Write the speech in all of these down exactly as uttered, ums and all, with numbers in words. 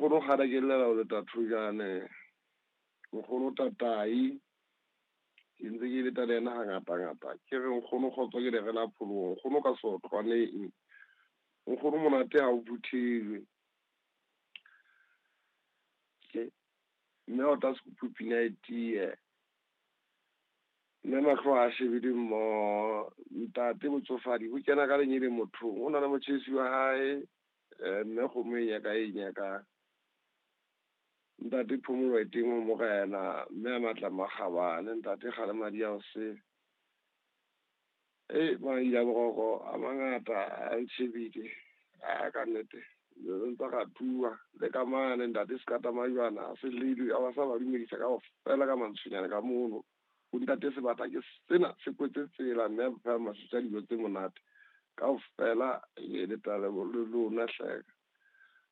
Nkgono kgale ke llela ho leta Thojane. Nkgono Tatai. Ke ntse ke leta le yena hangata ngata. Ke re nkgono kgotso ke le rela pholoho. Nkgono ka sotlwaneng. Nkgono monate ha o phuthelwe. Ke mme o tla sekupu pina e tiye. Mme mahlo a shebile mmoho. Ntate botsofadi bo kena ka lenyele mothong. O na le motjhesi wa hae. Mme kgomo e nyaka e nyaka. Ntate phomolo e teng ho morena. Mme a matla makgabane. Ntate kgale madi a o se. E madi a boroko a mangata a ntshebile. A ka nnete. Le ntse ra tua le ka mane ntate sekata majwana se lelwe a ba sa ba dumedisa ka fela ka mantshonyana ka mono. Ho ntate sebata ke sena se kwetse tsela mme a pha masutsa dijo tse monate. Kaofela e le tla le lona hleka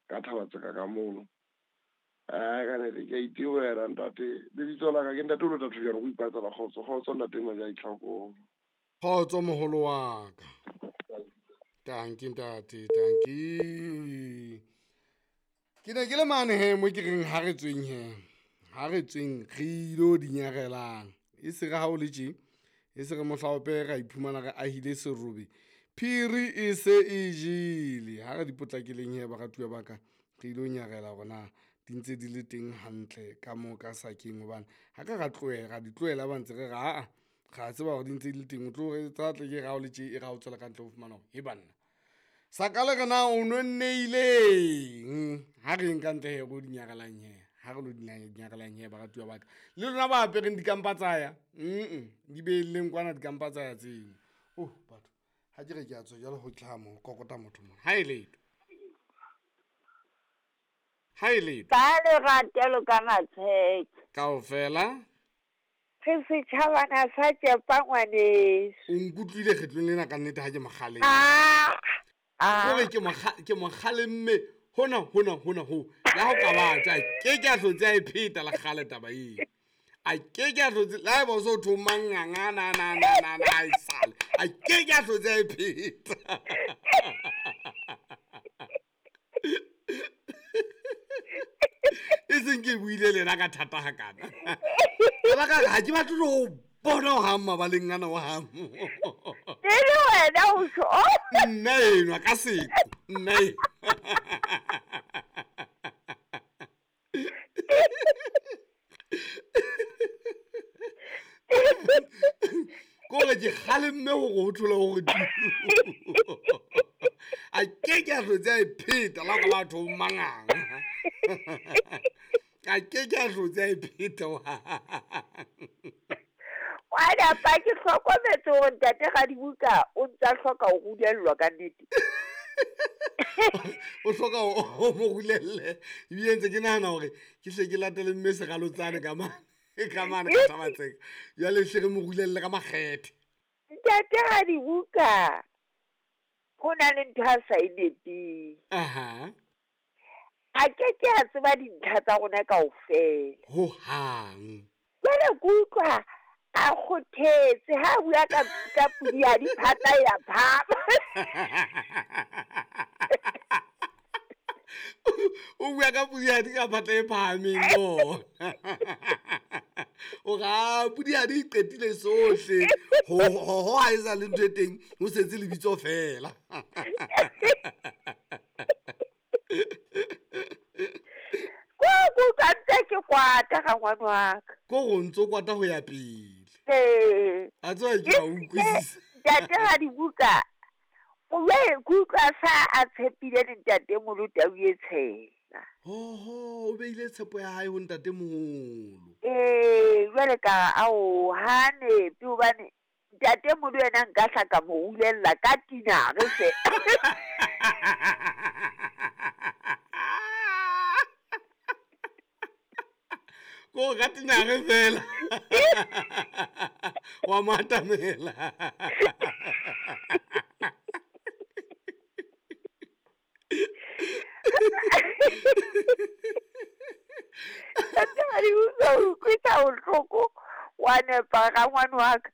ka thaba tseka ka mono. A ka ne ke itewela ntate lebitso la ka ke ntate o lota Thojane go ipatsa la kgotso kgotso ntate Maja Itlhakong. Kgotso moholo wa ka. Tanki ntate, tanki. Ke ne ke le mane he mo ke reng ha re tsweng he. Ha re tsweng re ilo dinyarelang. E se re ha o le tje, e se re mohlaope ra iphumana re ahile serobe. Phiri e se e jele. Ha re di potlakeleng he baratuwa ba ka, re ilo nyarela hore na di ntse di le teng hantle ka moo ka sakeng hobane ha ka ra tlohela, ra di tlohela ba ntse re re aa ra tseba hore di ntse di le teng. O tlo re tsa tle ke ra o le tje e ra o tswela ka ntle ho fumana hore he banna. Saka le re na o no nneileng ha re eng ka ntle he ro di nyarelang he. Ha re lo di nyarelang he baratuwa ba ka. Le lona ba apereng dikampa tsa ya. Mm-mm, di beelleng kwana dikampa tsa ya tseno. Oh batho, ha ke re ke a tswa jwale ho tla mo kokota motho mona. Ha e letho. Ha e letho. Ba le ratelo ka matsheke. Kaofela. Re setjhabana sa tšepa ngwaneso. O nkutlwile kgetlong lena ka nnete ha ke mokgaleng. Ah, ah. Hore ke mokga-, ke mokgalemme hona, hona, hona ho. Le ha o ka batla, a ke ke a hlotse a e pheta la kgale taba eo. A ke ke a hlotse, le haeba o so thwe o manganga, na, na, na, na, na, a e sale. A ke ke a hlotse a e pheta. E seng ke buile le yena ka thata hakana. Ka baka la, ha ke batle le ho bona ho hang mabaleng ana ho hang. Ke le wena o tjho. Nna enwa ka seqo, nna enwa. Ko re ke kgalemme hore ho thola hore tu. A ke ke a hlotse a e pheta la ka batho mangang. A ke ke a hlotse a e pheta wa. Wa napa ke hlokometse hore ntate Radibuka o ntsa hloka ho rulellwa ka nnete. O hloka ho mo rulelle. Ebile ntse ke nahana hore ke hle ke latele mme Seralotsane ka mane. Ka mane ka Thabatseka. Jwale hle re mo rulelle ka makgethe. Ntate Radibuka ho na le ntho a sa e nepeng. Aha. A ke ke a tseba dintlha tsa rona kaofela. Ho hang. Jwale ke utlwa a kgothetse ha a bua ka, ka podi ya diphata ya phama. O bua ka podi ya di ka phata e phahameng mo. O ra podi ya di qetile sohle. Ho, ho, ho ha e sa le ntho e teng, ho setse lebitso fela. Ko ko ka ntse ke kwata ga ngwana wa ka. Ko go ntse o kwata ho ya pele. Ee. A tswa ke a utlwisisa. Ntate Radibuka, o be ke utlwa sa a tshepile le ntatemoholo tau e tshela. Ho, ho, o beile tshepo ya hae ho ntatemoholo. Ee, jwale ka ao ha nepe hobane ntatemoholo yena nka hla ka mo rulella ka tinare fe. Ko ka tinare fela. Wa mo atamela. Ntate Radibuka, o utlwisa bohloko, wa nepa ga ngwana wa ka.